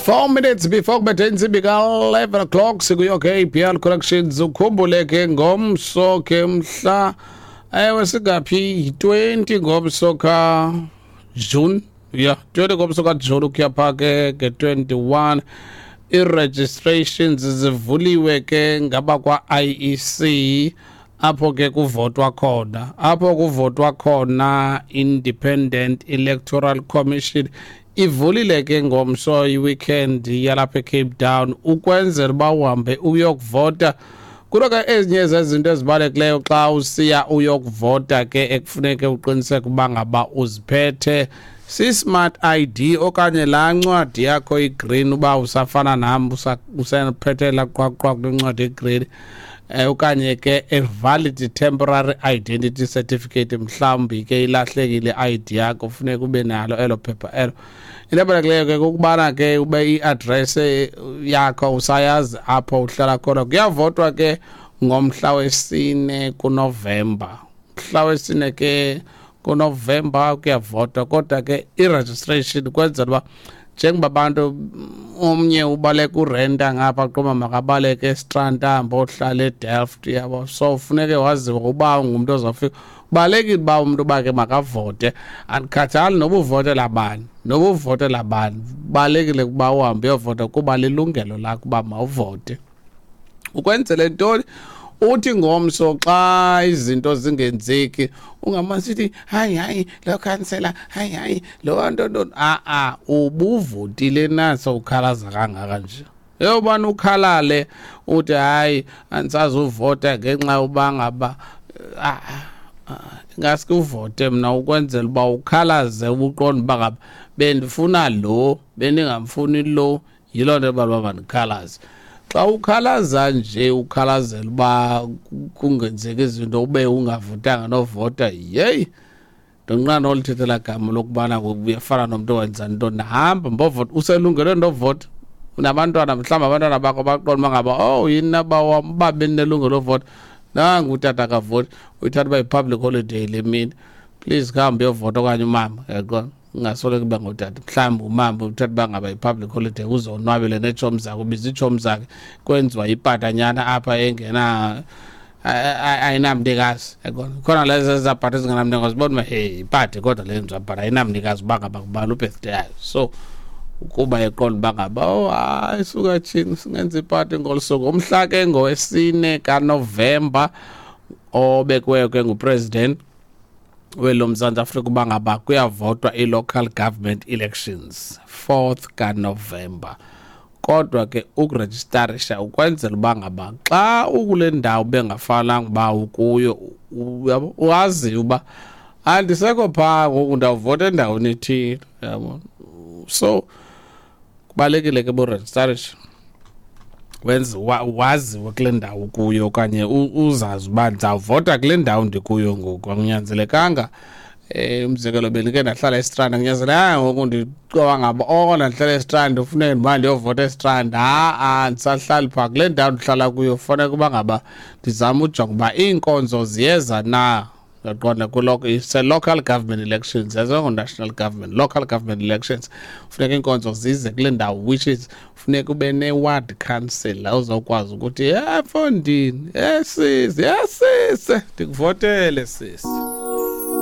4 minutes before kubethe intsimbi ka-11 o'clock, sikuyo ke APL Collections. Ukhumbule ke ngomso ke, mhla, ewe, singaphi, 20 ngomso ka June, yeah, 20 ngomso ka June ukuya pha ke nge-21, i-registrations zivuliwe ke ngaba kwa-IEC, apho ke kuvotwa khona, apho kuvotwa khona. Independent Electoral Commission ivulile ke ngomso, i-weekend yalapha eCape Town, ukwenzela uba uhambe uyokuvota. Kulo ke ezinye zezinto ezibalulekileyo xa usiya uyokuvota ke ekufuneke uqiniseke uba ngaba uziphethe si-smart ID okanye laa ncwadi yakho i-green, uba usafana nam usaphethe laa qwaqwa kule ncwadi i-green, okanye ke a valid temporary identity certificate. Mhlawumbi ke ilahlekile i-ID yakho, funeka ube nalo elo phepha elo. Into ebalulekileyo ke kukubana ke ube i-address yakho usayazi apho uhlala khona. Kuyavotwa ke ngomhla wesine kuNovemba, mhla wesine ke kuNovemba kuyavotwa. Kodwa ke i-registration kwenzela uba njengoba abantu omnye ubaleka urenta ngapha, qoma makabaleke eStrand, ahambe ohlala eDelft, yabo. So funeke waziwe uba ungumntu ozawufika. Kubalulekile uba umntu uba ke makavote, andikhathali noba uvotela bani, noba uvotela bani, kubalulekile ukuba uhambe uyovota kuba lilungelo lakho uba mawuvote. Ukwenzele ntoni? Uthi ngomso xa izinto zingenzeki ungamane sithi, "Hayi, hayi, lo khansela, hayi, hayi, lo nto nto." A-a, ubuvotile naso ukhalaza kangaka nje, yobani ukhalale uthi, "Hayi, andisazuvota ngenxa yoba ngaba." Ah, ingaske uvote mna ukwenzela uba ukhalaze, ubuqonda uba ngaba bendifuna lo, bendingamfuni lo, yiloo nto ebala uba mandikhalaze. Xa ukhalaza nje ukhalazela uba kungenzeki izinto ube ungavotanga novota, yeyi, ndonqana nolithethela gama lokubana uyafana nomntu owenza ntoni. Hamba mbovota, uselungelweni lovota. Unabantwana, mhlawumbi abantwana bakho baqonda uba ngaba, "Oh, yini naba wam, uba bendinelungelo lovota, nangu utata akavoti." Uyithatha uba yi-public holiday le mini, please khambe uyovota. Okanye umama, yaqonda, ungasoloko uba ngutata, mhlawumbi umama uthatha uba ngaba yi-public holiday, uzonwabele neetshomi zakhe, ubiza iitshomi zakhe, kwenziwa ipatanyana apha engena ayinamnikazi, yaqonda. Khona lezo ezapati ezingenamnikazi, bona uba hey, ipati kodwa le yenziwa, but ayinamnikazi uba ngaba ngubani ubirthday yayo. So kuba eqonda uba ngaba, "Oh hayi, suka tshini, singenza ipati ngolu suku." Umhla ke ngowesine kaNovemba obekiweyo ke ngupresident welo Mzantsi Afrika uba ngaba kuyavotwa i-local government elections, 4th kaNovemba. Kodwa ke ukurejistarisha ukwenzela uba ngaba xa ukule ndawo bengafanelanga uba ukuyo, uyabo, wazi uba andisekho phaa ngoku, ndawuvota endaweni ethile, yabo. So kubalulekile ke burejistarisha, wenze waziwe kule ndawo kuyo okanye uzazi uba ndizawuvota kule ndawo ndikuyo ngoku. Akunyanzelekanga, umzekelo, bendike ndahlala eStrand, akunyanzelekanga ngoku ndicoba ngaba oko ndahlala eStrand ufuneke ndiba ndiyovota eStrand. Ha-a, ndisahlali phaa kule ndawo ndihlala kuyo, funeka uba ngaba ndizame ujonga uba iinkonzo ziyeza na, uyaqonda. Kuloko it's a local government elections, azongo-national government, local government elections, funeka iinkonzo zize kule ndawo, which is funeka ube ne-ward council uzawukwazi ukuthi, "Ye mfondini, ye sisi, ye sisi, ndikuvotele sisi."